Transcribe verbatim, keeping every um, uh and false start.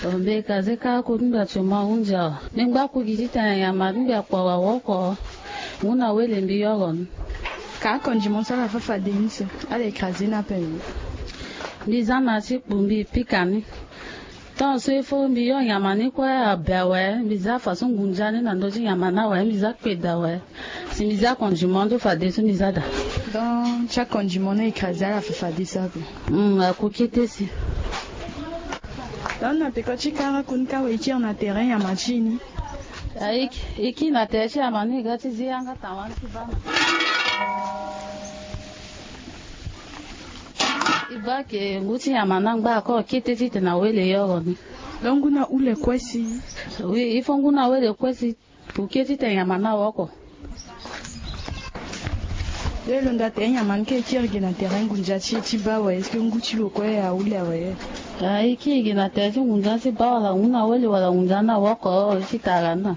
Mbi écrasé kâ kû ti mbi atio ma hunzi awe. Mbi ngba kû gi titene nyama ti mbi akpo awe awoko. Ngu na wele mbi yoro ni. Ka akondimon so ala fâ fade ni so, ala écrasé ni ape. Mbi za na ti kpu mbi pika ni. Tant so il faut mbi yoro nyama ni kue abe awe, mbi za façon ngunza ni na ndö ti nyama ni awe, mbi za kpeda awe. Si mbi za akondimon ndo fadeso mbi za daa. Donc ti akondimon ni écrasé ala fâ fadeso ape. Hum, aku kete si. Donc na peko ti kara koni ka we i kiri na terrain nyama ti i ni. Ah, i kiri na terrain ti nyama ni, i ga ti zi yanga tawani ti bana. I baa ke ngu ti nyama ni angba ako kete titene awele yoro ni. Donc ngu na hule kue si. Oui, il faut ngu na wele kue si. Pour ke titene nyama ni awoko. Nde lo nda tere nyama ni ke kiri gi na terrain ngunza ti e ti baa awe, est-ce que ngu ti lo kue ahule awe? Ah, i kiri gi na tere ti ngunza ti baa wala ngu na wele wala ngunza ni awoko, i ti tara ni na.